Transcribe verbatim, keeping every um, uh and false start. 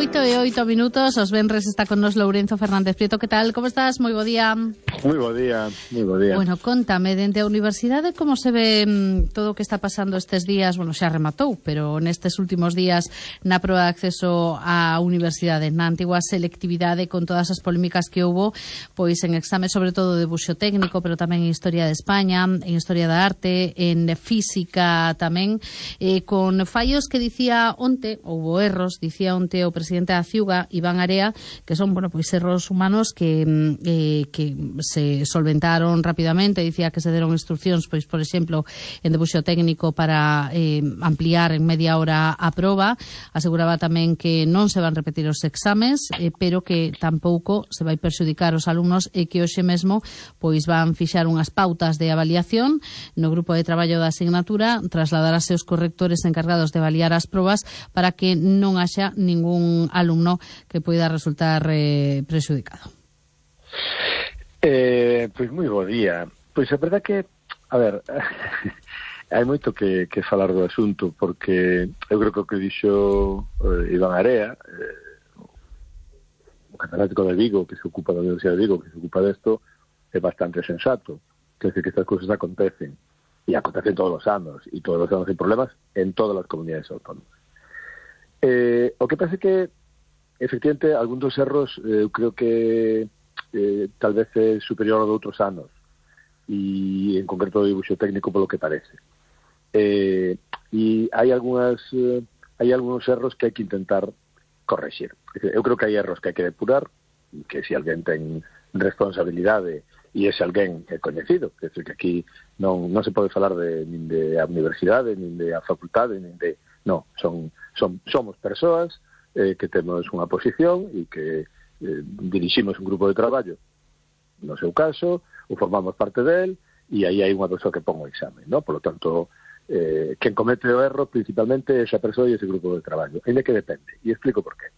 oito e oito minutos, os venres está con nos Lourenzo Fernández Prieto. Que tal? Como estás? Moi bo día. Moi bo día, moi bo día. Bueno, contame, dende a universidade, como se ve mmm, todo o que está pasando estes días? Bueno, xa rematou, pero nestes últimos días na proba de acceso á universidade, na antigua selectividade, con todas as polémicas que houbo, pois en exame sobre todo de buxo técnico, pero tamén en Historia de España, en Historia da Arte, en Física tamén, eh, con fallos que dicía onte, houbo erros, dicía onte o presidente da Ciuga, Iván Area, que son, bueno, pois erros humanos que eh, que se solventaron rapidamente. Dicía que se deron instruccións, pois, por exemplo, en debuxo técnico para eh, ampliar en media hora a proba. Aseguraba tamén que non se van repetir os exames, eh, pero que tampouco se vai perxudicar os alumnos e que hoxe mesmo pois van fixar unhas pautas de avaliación no grupo de traballo da asignatura, trasladarase os correctores encargados de avaliar as probas para que non haxa ningún alumno que poida resultar eh, prexudicado. Eh, pois moi bo día. Pois a verdade que, a ver, hai moito que, que falar do asunto, porque eu creo que o que dixo eh, Iván Area, eh, o catedrático de Vigo, que se ocupa da Universidade de Vigo, que se ocupa desto, é bastante sensato. Quer dizer que estas cousas acontecen, e acontecen todos os anos, e todos os anos hai problemas en todas as comunidades autónomas. Eh, o que pasa é que, efectivamente, algún dos erros, eh, eu creo que eh, tal vez é superior ao de outros anos, e en concreto o dibuixo técnico polo que parece. Eh, e hai algunhas eh, hai algúns erros que hai que intentar correxir. Eu creo que hai erros que hai que depurar, que se alguén ten responsabilidade e ese alguén é coñecido, que, que aquí non, non se pode falar de, nin de a universidade, nin de a facultade, nin de... Non, son, son, somos persoas eh, que temos unha posición e que eh, diriximos un grupo de traballo, no seu caso, ou formamos parte del, e aí hai unha persoa que pon o exame, ¿no? Por lo tanto, eh, quen comete o erro principalmente é esa persoa e ese grupo de traballo, ainda que depende, e explico por qué.